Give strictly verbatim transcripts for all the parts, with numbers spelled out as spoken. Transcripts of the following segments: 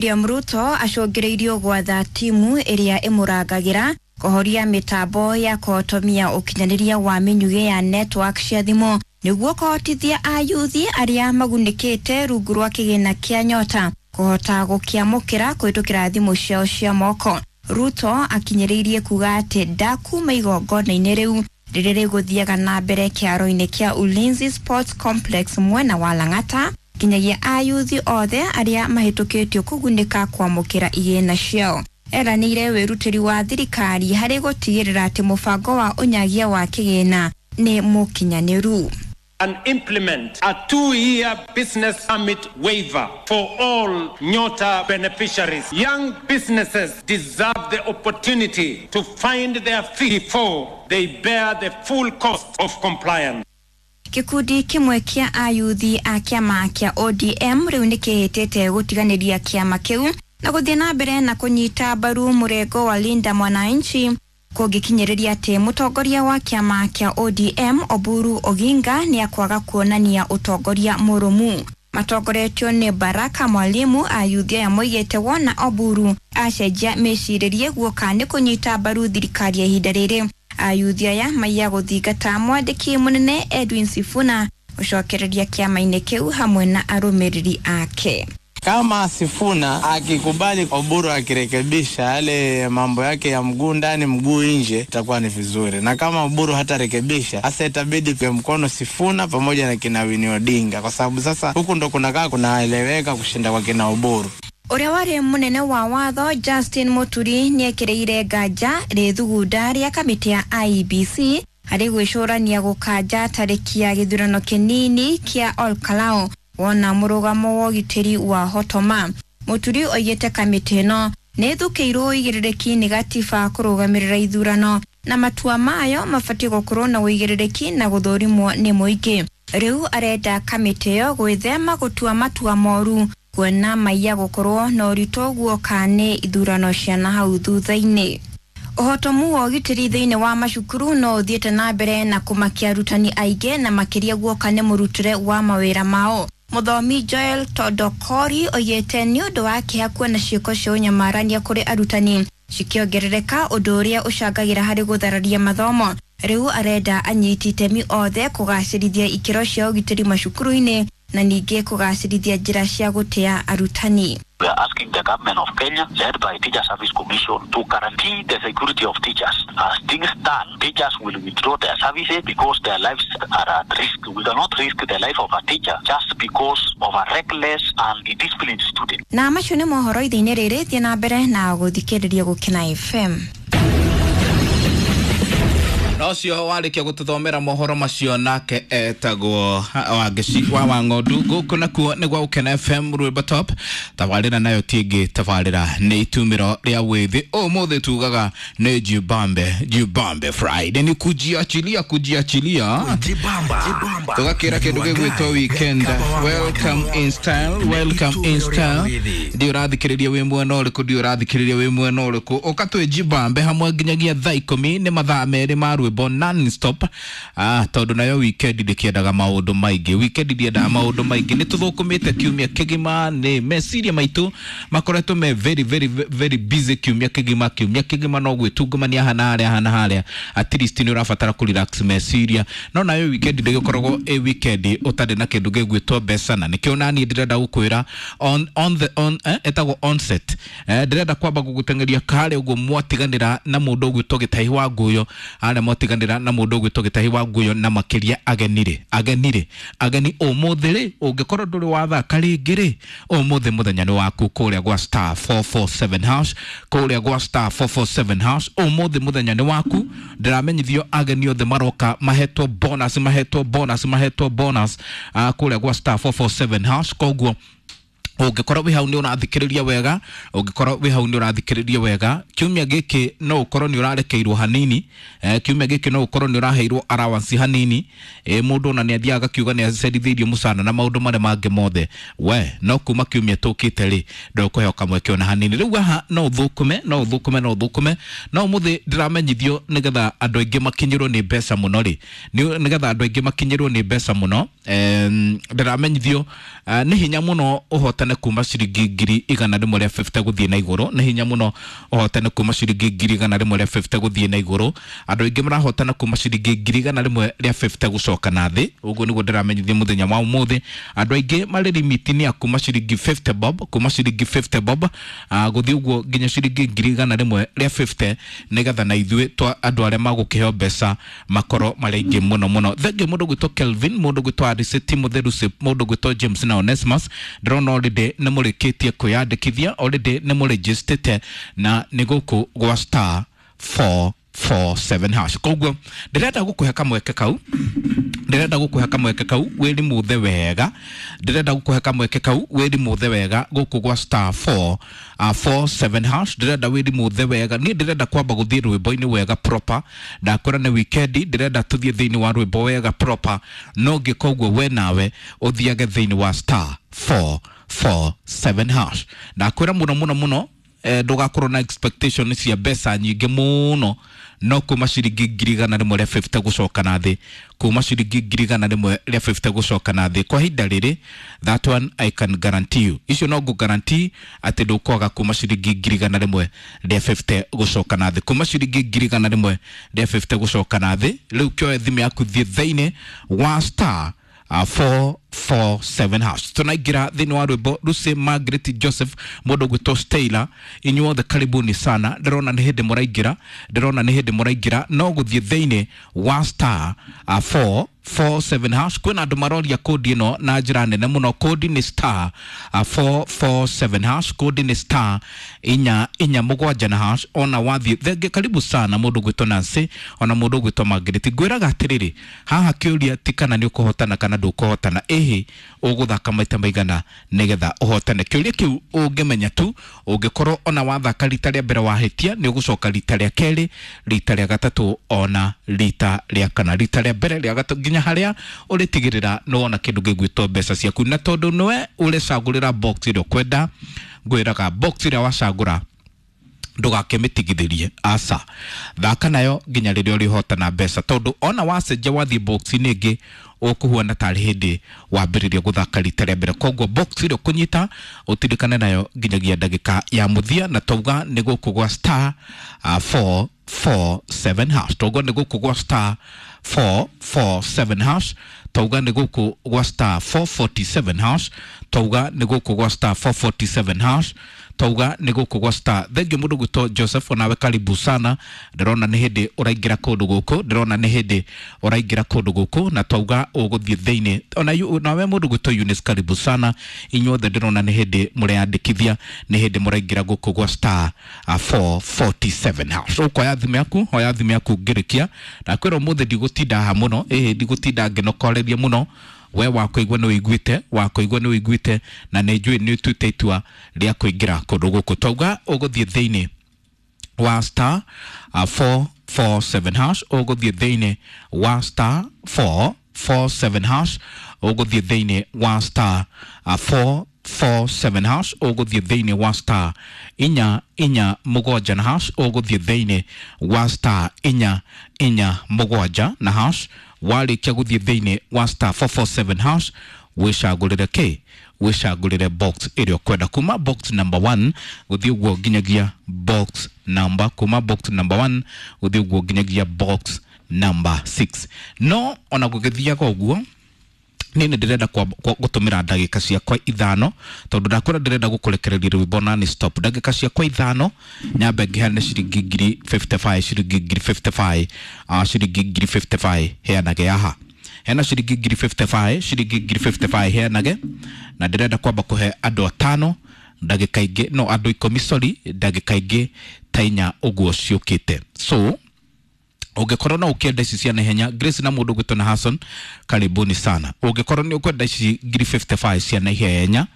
William Ruto acũngĩrĩirio gwatha timu ĩrĩa ĩmũrangagĩra kũhoria mĩtambo ya kũhotomia ũkinyanĩria wa mĩnyugĩ ya network cia thimũ nĩguo kũhotithia ayuthi arĩa magunĩkĩte rungu rwa kĩgĩna kĩa Nyota kũhota gũkĩamũkĩra kũhĩtũkĩra thimũ ciao cia moko. Ruto akinyĩrĩirie kuga atĩ ndakuma igongona-inĩ rĩu rĩrĩa rĩgũthiaga na mbere kĩaro-inĩ kĩa Ulinzi Sports Complex mwena wa Lang'ata nginyagia ayuthi othe arĩa mahĩtũkĩtio kũgunĩka kwamũkĩra igĩna ciao. Eranĩire wĩrutĩri wa thirikari harĩ gũtigĩrĩra atĩ mũbango wa ũnyagia wa kĩgĩna nĩ mũkinyanĩru. And implement a two-year business permit waiver for all Nyota beneficiaries. Young businesses deserve the opportunity to find their feet before they bear the full cost of compliance. Kikundi kĩmwe kĩa ayuthi a kĩama kĩa O D M rĩu nĩkĩhĩtĩte gũtiganĩria kĩama kĩu na gũthiĩ na mbere na kũnyita mbaru mũrengo wa Linda Mwananchi kũngĩkinyĩrĩria atĩ mũtongoria wa kĩama kĩa O D M Oburu Oginga nĩakwaga kuonania ũtongoria mũrũmu. Matongoretio nĩ Baraka Mwalimu, ayuthi aya moigĩte wona Oburu acenjia mĩcirĩrie guoka nĩ kũnyita mbaru thirikari ya ihinda rĩrĩ. Ayuthi aya maiya gũthingata mwandĩki mũnene Edwin Sifuna gũcokereria kĩama-inĩ kĩu hamwe na arũmĩrĩri ake. Kama Sifuna akikubali Oburu akirekebisha yale mambo yake ya mguu ndani mguu nje, itakuwa ni vizuri. Na kama Oburu hatarekebisha, sasa itabidi kwa mkono Sifuna pamoja na kina Winnie Odinga, kwa sababu sasa huku ndo kunakaa kunaeleweka kushinda kwa kina Oburu. Ũrĩa warĩ mũnene wa watho Justin Muturi nĩekĩrĩire nganja rĩthugunda rĩa kamĩtĩ ya I E B C harĩ gwĩcũrania gũkanja tarĩki ya gĩthurano kĩnini kĩa Olkalou wona mũrũgamo wa ũgitĩri wa hotoma. Muturi oigĩte kamĩtĩ ĩno nĩĩthũkĩirwo ũigĩrĩrĩki nĩ gatiba kũrũgamĩrĩra ithurano na matua mayo mabatiĩ gũkorwo na ũigĩrĩrĩki na gũthũrimwo nĩ mũingĩ. Rĩu arenda kamĩtĩ ĩyo gwĩthema gũtua matua moru kuona maiya gũkorwo na ũritũ guoka nĩ ithurano cia nahau thutha-inĩ. Ũhotomu wa ũgitĩri thĩinĩ wa macukuru no ũthiĩte na mbere na kũmakia arutani aingĩ na makĩria guoka nĩ mũrutĩre wa mawĩra mao. Mũthomi Joel Todokori oigĩte nĩ ũndũ wa kĩeha kuona ciĩko cia ũnyamarania kũrĩ arutani cikĩongerereka, ũndũ ũrĩa ũcangagĩra harĩ gũthararia mathomo. Rĩu arenda anyiti itemi othe kũgacĩrithia ikĩro cia ũgitĩri macukuru-inĩ na ningĩ kũgacĩrithia njĩra cia gũtĩa arutani. We are asking the government of Kenya, led by Teacher Service Commission, to guarantee the security of teachers. As things stand, teachers will withdraw their services because their lives are at risk. We cannot risk the life of a teacher just because of a reckless and indisciplined student. Na macio nĩ mohoro ithe-inĩ rĩrĩ, thiĩ na mbere na gũthikĩrĩria Gũkena F M. Nocio warĩkia gũtũthomera mohoro macio nake etagwo Wangeci wa Wang'ondu. Gũkũ nakuo nĩ gwa Gũkena F M Rwĩmbo Top. Tabarĩra nayo ti ĩngĩ, tabarĩra nĩ itumĩro rĩa wĩthĩ. Ũmũthĩ tugaga nĩ Jibambe, Jibambe Friday, nĩ kujiachilia, kujiachilia. Jibamba, Jibamba. Tũgakĩra kĩndũ gĩgwĩtwo weekend. Welcome in style, welcome in style. Ndiũ ũrathikĩrĩria wĩ mwena ũrĩkũ, ndiũ ũrathikĩrĩria wĩ mwena ũrĩkũ. Ũka twĩ Jibambe hamwe nginyagia thaa ikũmi, nĩ mathaa merĩ ma rwĩmbo non-stop. Ah, tondũ nayo weekend ndĩkĩendaga maũndũ maingĩ, weekend ndĩendaga maũndũ maingĩ. Nĩ tũthũkũmĩte kiumia kĩgima, nĩ meciria maitũ makoretwo me very, very, very busy kiumia kĩgima. Kiumia kĩgima no gwĩtungumania haha na harĩa, haha na harĩa. At least nĩ ũrabatara kũ relax meciria. No nayo weekend ndĩgĩkoragwo ĩ weekend ũtarĩ na kĩndũ gĩgwĩtwo mbeca, na nĩkĩo naniĩ ndĩrenda gũkwĩra on, on the, on, eh, ĩtagwo onset. Eh, ndĩrenda kwamba gũgũteng'eria karĩa ũguo mwatiganĩra na mũndũ ũgwĩtwo Gĩtahi wa Nguyo, arĩa mwatiganĩra na mũndũ ũgwĩtwo Gĩtahi wa Nguyo na makĩria ageni rĩ, ageni rĩ, ageni ũmũthĩ rĩ, ũngĩkorwo ndũrĩ wathaka rĩngĩ rĩ, ũmũthĩ mũthenya nĩ waku kũrĩa gwa star four four seven hash, kũrĩa gwa star four four seven hash, ũmũthĩ mũthenya nĩ waku. Ndĩramenyithio ageni othe maroka mahetwo bonus, mahetwo bonus, mahetwo bonus, ah, kũrĩa gwa star four four seven hash. Koguo ũngĩkorwo wĩ hau nĩ ũrathikĩrĩria wega, ũngĩkorwo wĩ hau nĩ ũrathikĩrĩria wega, kiumia gĩkĩ no ũkorwo nĩ ũrarekeirwo hanini, eh, kiumia gĩkĩ no ũkorwo nĩ ũraheirwo allowance hanini, eh, mũndũ ona nĩ athiaga akiuga nĩ acerithĩirio mũcara na maũndũ marĩa mangĩ mothe. We no kuma kiumia tũkĩte rĩ, ndũkũheo kamweke ona hanini. Rĩu haha no ũthũkũme, no ũthũkũme, no ũthũkũme. No ũmũthĩ ndĩramenyithio nĩgetha andũ aingĩ makinyĩrwo nĩ mbeca mũno rĩ, nĩgetha andũ aingĩ makinyĩrwo nĩ mbeca mũno, em, ndĩramenyithio, eh, nĩ hinya mũno ũhotane ũhotane kuma ciringi ngiri igana rĩmwe rĩa fifty gũthiĩ na igũrũ. Nĩ hinya mũno ũhotane kuma ciringi ngiri igana rĩmwe rĩa fifty gũthiĩ na igũrũ. Andũ aingĩ marahotana kuma ciringi ngiri igana rĩmwe rĩa fifty gũcoka na thĩ. Ũguo nĩguo ndĩramenyithia mũthenya wa ũmũthĩ. Andũ aingĩ marĩ limit-inĩ ya kuma ciringi fifty bob, kuma ciringi fifty bob gũthiĩ ũguo nginya ciringi ngiri igana rĩmwe rĩa fifty, nĩgetha na ithuĩ twa andũ arĩa magũkĩheo mbeca makorwo marĩ aingĩ mũno mũno. Thengiũ mũndũ gwĩtwo Kelvin, mũndũ gwĩtwo Ariseti Mũtheru, mũndũ gwĩtwo James na Onesmus. Ndĩrona already nĩ mũrĩkĩtie kwĩyandĩkithia, already nĩ mũrĩnjĩstĩte na nĩ gũkũ gwa star four four seven hash. Koguo ndĩrenda gũkũhe kamweke kau, ndĩrenda gũkũhe kamweke kau wĩrimũthe wega, ndĩrenda gũkũhe kamweke kau wĩrimũthe wega gũkũ gwa star four four seven hash. Ndĩrenda wĩrimũthe wega. Niĩ ndĩrenda kwamba gũthiĩ rwĩmbo-inĩ wega proper. Ndakwĩra nĩ weekend, ndĩrenda tũthiĩ thĩinĩ wa rwĩmbo wega proper. No ngĩka ũguo we nawe ũthiage thĩinĩ wa star four four seven hash. Ndakwĩra mũno mũno mũno, ndũgakorwo na expectation cia mbeca nyingĩ mũno, no kuma ciringi ngiri igana rĩmwe rĩa fifty gũcoka na thĩ, kuma ciringi ngiri igana rĩmwe rĩa fifty gũcoka na thĩ kwa ihinda rĩrĩ, that one I can guarantee you. Icio no ngũ guarantee atĩ ndũkwaga kuma ciringi ngiri igana rĩmwe rĩa fifty gũcoka na thĩ, kuma ciringi ngiri igana rĩmwe rĩa fifty gũcoka na thĩ. Rĩu kĩoe thimũ yaku, thiĩ thĩinĩ wa star four four seven hash. Tunaingira thĩinĩ wa rwĩmbo. Lucy Margaret Joseph, mũndũ gwĩtwo Stella, inyuothe karibuni sana. Ndĩrona nĩ hĩndĩ mũraingĩra, ndĩrona nĩ hĩndĩ mũraingĩra. No gũthiĩ thĩinĩ wa star four four seven hash. Kwĩna andũ maroria kodi ĩno na njĩra nene mũno. Kodi nĩ star four four seven hash, kodi nĩ star inya inya mũgwanja na hash. Ona wathiĩ thenge, karibu sana mũndũ gwĩtwo Nancy, ona mũndũ gwĩtwo Margaret. Ngwĩraga atĩrĩrĩ, haha kĩũria ti kana nĩ ũkũhotana kana ndũkũhotana, ĩhĩ ũgũthaka maita maigana nĩgetha ũhotane. Kĩũria kĩu ũngĩmenya tu, ũngĩkorwo ona wathaka rita rĩa mbere wahĩtia, nĩ ũgũcoka rita rĩa kerĩ, rita rĩa gatatũ, ona rita rĩa kana, rita rĩa mbere, rĩa gatatũ, nginya harĩa ũrĩtigĩrĩra nĩ wona kĩndũ gĩgwĩtwo mbeca ciaku. Na tondũ nĩwe ũrecagũrĩra box ĩrĩa ũkwenda, ngwĩraga box ĩrĩa wacagũra ndũgakĩmĩtigithĩrie, aca, thaka nayo nginya rĩrĩa ũrĩhotana mbeca, tondũ ona wacenjia wathiĩ box-inĩ ĩngĩ ũkũhuana tarĩ hĩndĩ wambĩrĩria gũthaka rita rĩa mbere. Koguo box ĩrĩa ũkũnyita ũtirikane nayo nginyagia ndagĩka ya mũthia. Na tauga nĩ gũkũ gwa star four four seven hash, tauga nĩ gũkũ gwa star four four seven hash, tauga nĩ gũkũ gwa star four forty seven hash, tauga nĩ gũkũ gwa star four forty seven hash, tauga nĩ gũkũ gwa star. Thengiũ mũndũ gwĩtwo Joseph, onawe karibu sana. Ndĩrona nĩ hĩndĩ ũraingĩra kũndũ gũkũ, ndĩrona nĩ hĩndĩ ũraingĩra kũndũ gũkũ, na tauga ũgũthiĩ thĩinĩ. Ona nawe mũndũ gwĩtwo Eunice, karibu sana. Inyuothe ndĩrona nĩ hĩndĩ mũreyandĩkithia, nĩ hĩndĩ mũraingĩra gũkũ gwa star four forty seven hash. Ũkoya thimũ yaku, oya thimũ yaku ngĩrĩkia. Ndakwĩra ũmũthĩ ndigũtinda haha mũno, ĩhĩ ndigũtinda ngĩnokoreria mũno. We wakũigua nĩ ũiguĩte, wakũigua nĩ ũiguĩte, na nĩ njũĩ nĩ ũtuĩte itua rĩa kũingĩra kũndũ gũkũ. Tauga ũgũthiĩ thĩinĩ wa star four four seven hash, ũgũthiĩ thĩinĩ wa star four four seven hash, ũgũthiĩ thĩinĩ wa star four four seven hash, ũgũthiĩ thĩinĩ wa star inya inya mũgwanja na hash, ũgũthiĩ thĩinĩ wa star inya inya mũgwanja na hash. Warĩkia gũthiĩ thĩinĩ wa star four four seven hash, wĩcagũrĩre kĩ, wĩcagũrĩre box ĩrĩa ũkwenda, kuma box number one gũthiĩ ũguo nginyagia box number, kuma box number one gũthiĩ ũguo nginyagia box number six. No ona gũgĩthiaga ũguo, niĩ nĩ ndĩrenda gũtũmĩra ndagĩka ciakwa ithano, tondũ ndakwĩra ndĩrenda gũkũrekereria rwĩmbo na nĩ stop. Ndagĩka ciakwa ithano nyambe ngĩheane ciringi ngiri fifty five, ciringi ngiri fifty five, ciringi ngiri fifty five heanage haha. Hena ciringi ngiri fifty five, ciringi ngiri fifty five heanage, na ndĩrenda kwamba kũhe andũ atano ndagĩka ingĩ, no andũ ikũmi, sorry, ndagĩka ingĩ ta inya ũguo ciũkĩte. So ũngĩkorwo no ũkĩenda ici cia naihenya, Grace na mũndũ gwĩtwo na Hassan, karibuni sana. Ũngĩkorwo nĩ ũkwenda ici ngiri fifty five cia naihenya,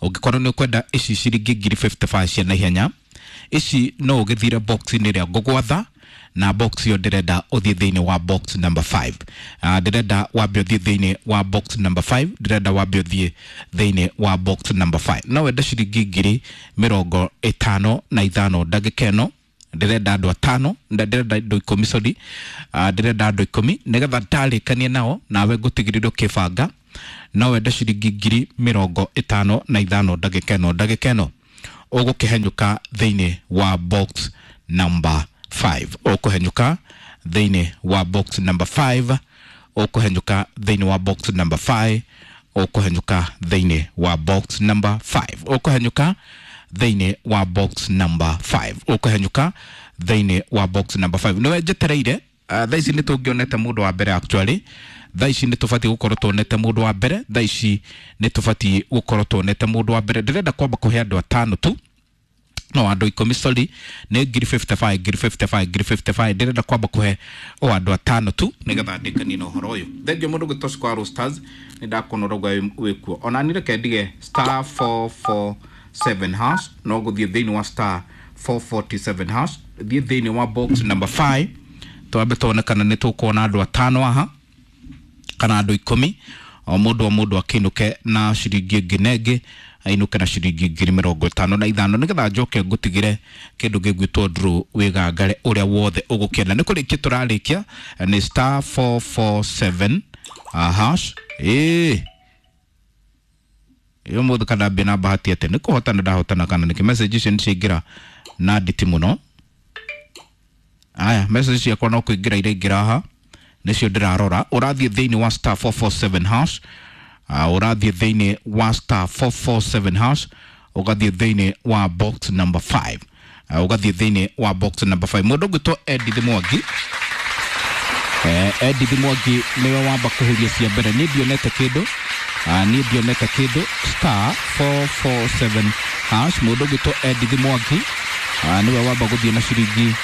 ũngĩkorwo nĩ ũkwenda ici ciringi ngiri fifty five cia naihenya, ici no ũgĩthire box-inĩ ĩrĩa ngũgwatha, na box ĩyo ndĩrenda ũthiĩ thĩinĩ wa box number five. Uh, ndĩrenda wambe ũthiĩ thĩinĩ wa box number five, ndĩrenda wambe ũthiĩ thĩinĩ wa box number five. No wende ciringi ngiri mĩrongo ĩtano na ithano ndagĩka ĩno, ndĩrenda andũ atano, ndĩrenda andũ ikũmi, sorry, ndĩrenda andũ ikũmi, nĩgetha ndarĩkanie nao nawe ngũtigĩrĩre ũkĩbanga, No wende ciringi ngiri mĩrongo ĩtano na ithano ndagĩka ĩno ndagĩka ĩno ũgũkĩhenyũka thĩinĩ wa box number five, ũkũhenyũka thĩinĩ wa box number five, ũkũhenyũka thĩinĩ wa box number five, ũkũhenyũka thĩinĩ wa box number five, ũkũhenyũka thĩinĩ wa box number five, ũkũhenyũka thĩinĩ wa box number five. Nĩwe njetereire. uh, thaa ici nĩ tũngĩonete mũndũ wa mbere, actually thaa ici nĩ tũbatiĩ gũkorwo tuonete mũndũ wa mbere, thaa ici nĩ tũbatiĩ gũkorwo tuonete mũndũ wa mbere. Ndĩrenda kwamba kũhe andũ atano tu, no andũ ikũmi, sorry, nĩ ngiri mĩrongo ĩtano na ithano, ngiri mĩrongo ĩtano na ithano, ngiri mĩrongo ĩtano na ithano. Ndĩrenda kwamba kũhe o andũ atano tu nĩgetha ndĩkanie na ũhoro ũyũ. Thengiũ mũndũ gwĩtwo Square Stars, nĩ ndakuona ũrauga wĩkuo ona niĩ. Reke ndige star four four seven hash, no gũthiĩ thĩinĩ wa star four forty-seven hash, thiĩ thĩinĩ wa box number five, twambe tuone kana nĩ tũkuona andũ atano aha kana andũ ikũmi, o mũndũ o mũndũ akĩinũke na ciringi ĩngĩ na ĩngĩ, ainũke na ciringi ngiri mĩrongo ĩtano na ithano, nĩgetha njoke ngũtigĩre kĩndũ gĩgwĩtwo draw wĩgangare ũrĩa wothe ũgũkĩenda. Nĩ kũrĩkia tũrarĩkia, nĩ star four four seven uh, hash. Ĩĩ, ĩyo mũthĩ kana mbia na bahati atĩ nĩ kũhotana ndahotana kana nĩkĩ? Message icio nĩ ciaingĩra na nditi mũno. Aya, message ciakwa no kũingĩra iraingĩra haha, nĩcio ndĩrarora. Ũrathiĩ thĩinĩ wa star four four seven hash, uh, ũrathiĩ thĩinĩ wa star four four seven hash, ũgathiĩ thĩinĩ wa box number five, uh, ũgathiĩ thĩinĩ wa box number five. Mũndũ ũgwĩtwo Edith Mwangi, eh, Edith Mwangi nĩwe wamba kũhuria cia mbere. Niĩ ndionete kĩndũ, uh, niĩ ndionete kĩndũ. Star four four seven hash, mũndũ ũgwĩtwo Edith Mwangi uh, nĩwe wamba gũthiĩ na ciringi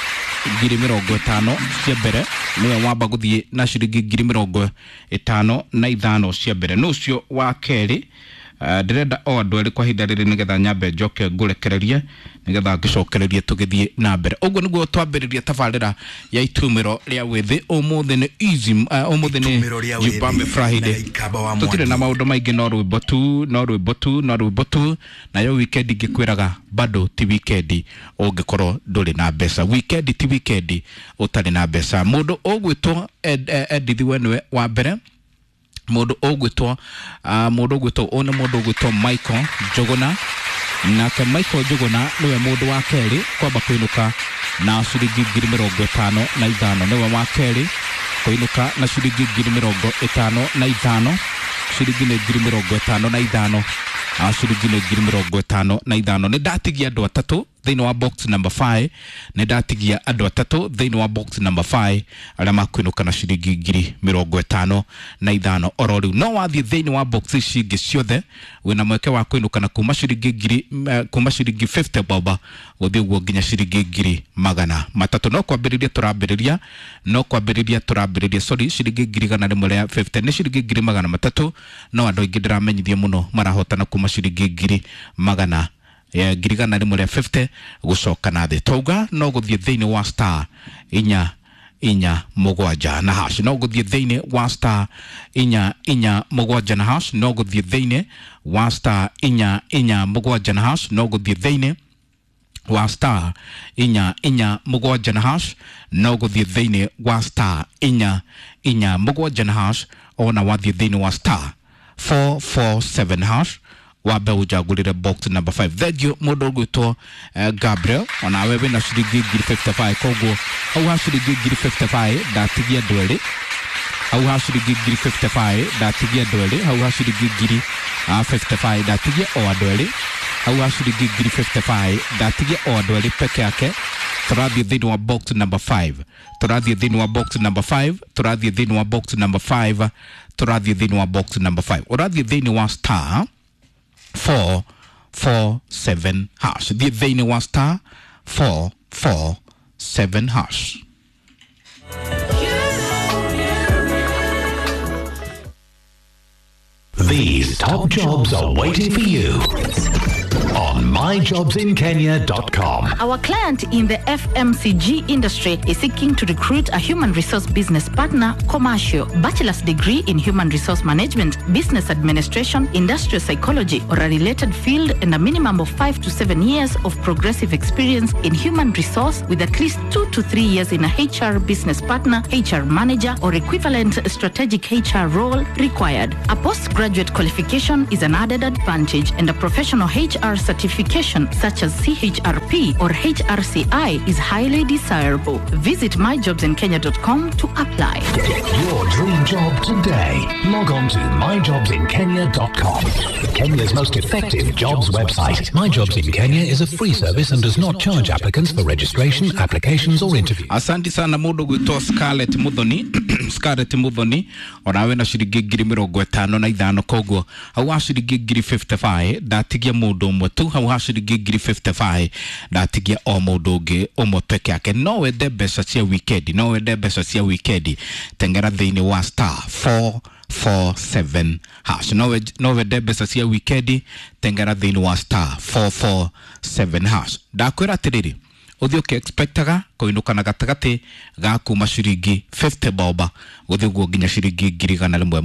ngiri mĩrongo ĩtano cia mbere, nĩwe wamba gũthiĩ na ciringi ngiri mĩrongo ĩtano na ithano cia mbere. Nũ ũcio wa kerĩ? uh, ndĩrenda o andũ erĩ kwa ihinda rĩrĩ, nĩgetha nyambe njoke ngũrekererie, nĩgetha ngĩcokererie tũgĩthiĩ na mbere. Ũguo nĩguo twambĩrĩria tabarĩra ya itumĩro rĩa wĩthĩ ũmũthĩ. Nĩ easy, uh, ũmũthĩ nĩ Itumĩro rĩa wĩthĩ Jibambe Friday. Na Ikamba wa Tũtirĩ na Mwangi. maũndũ maingĩ, no rwĩmbo tu, no rwĩmbo tu, no rwĩmbo tu. Nayo weekend ngĩkwĩraga bado ti weekend ũngĩkorwo ndũrĩ na mbeca, weekend ti weekend ũtarĩ na mbeca. Mũndũ ũgwĩtwo Ed, eh, Edith we nĩwe wa mbere. Mũndũ ũgwĩtwo uh, mũndũ ũgwĩtwo ũyũ nĩ mũndũ ũgwĩtwo Michael Njũgũna. Nake Michael Njũgũna nĩwe mũndũ wa kerĩ kwamba kũinũka na ciringi ngiri mĩrongo ĩtano na ithano, nĩwe wa kerĩ kũinũka na ciringi ngiri mĩrongo ĩtano na ithano. Ciringi nĩ ngiri mĩrongo ĩtano na ithano, ah, ciringi nĩ ngiri mĩrongo ĩtano na ithano. Nĩ ndatigia andũ atatũ thĩinĩ wa box number five, nĩ ndatigia andũ atatũ thĩinĩ wa box number five arĩa makwĩnũka na ciringi ngiri mĩrongo ĩtano na ithano oro rĩu. No wathiĩ thĩinĩ wa box ici ingĩ ciothe, wĩna mweke wa kwĩnũka na kuma ciringi ngiri eh, kuma ciringi fifty bob gũthiĩ ũguo nginya ciringi ngiri magana matatũ. No kwambĩrĩria tũrambĩrĩria, no kwambĩrĩria tũrambĩrĩria, sorry, ciringi ngiri igana rĩmwe rĩa fifty nĩ ciringi ngiri magana matatũ. No andũ aingĩ ndĩramenyithia mũno marahotana kuma ciringi ngiri magana ya ngiri igana rĩmwe rĩa fifty gũcoka na thĩ. Twauga no gũthiĩ thĩinĩ wa star inya inya mũgwanja na hash, no gũthiĩ thĩinĩ wa star inya inya mũgwanja na hash, no gũthiĩ thĩinĩ wa star inya inya mũgwanja na hash, no gũthiĩ thĩinĩ wa star inya inya mũgwanja na hash, no gũthiĩ thĩinĩ wa star inya inya mũgwanja na hash. Ona wathiĩ thĩinĩ wa star four four seven hash, wambe ũnjagũrĩre box number five. Thengiũ mũndũ ũgwĩtwo uh, Gabriel, onawe wĩna ciringi ngiri mĩrongo ĩtano na ithano. Koguo hau ha ciringi ngiri mĩrongo ĩtano na ithano ndatigia andũ erĩ, hau ha ciringi ngiri mĩrongo ĩtano na ithano ndatigia andũ erĩ, hau ha ciringi ngiri ah, mĩrongo ĩtano na ithano ndatigia o andũ erĩ, hau ha ciringi ngiri mĩrongo ĩtano na ithano ndatigia o andũ erĩ peke yake. Tũrathiĩ thĩinĩ wa box number five, tũrathiĩ thĩinĩ wa box number five, tũrathiĩ thĩinĩ wa box number five, tũrathiĩ thĩinĩ wa box number five. Ũrathiĩ thĩinĩ wa star four four seven hash, thiĩ thĩinĩ wa star four four seven hash. These top jobs are waiting for you on on my jobs in kenya dot com. Our client in the F M C G industry is seeking to recruit a human resource business partner, commercial, bachelor's degree in human resource management, business administration, industrial psychology, or a related field, and a minimum of five to seven years of progressive experience in human resource with at least two to three years in a H R business partner, H R manager, or equivalent strategic H R role required. A postgraduate qualification is an added advantage, and a professional H R certification such as C H R P or H R C I is highly desirable. Visit my jobs in kenya dot com to apply. Get your dream job today. Log on to my jobs in kenya dot com. Kenya's most effective jobs website. My Jobs in Kenya is a free service and does not charge applicants for registration, applications or interviews. Asante sana mundu gwitwo Scarlett Muthoni. Scarlett Muthoni onawe na ciringi ngiri mirongo itano na ithano, koguo hau ha ciringi ngiri fifty-five ndatigia mundu umwe tu, hau ha ciringi ngiri fifty-five ndatigia o mundu ungi umwe peke yake. No wende mbeca cia weekend, no wende mbeca cia weekend, tengera thiini wa star four four seven hash. No we, no wende mbeca cia weekend, tengera thiini wa star four four seven hash. Ndakwira atiriri, uthi uki expectaga kuinuka na gatagati ga kuma ciringi fifty boba guthi guo nginya ciringi ngiri igana rimwe.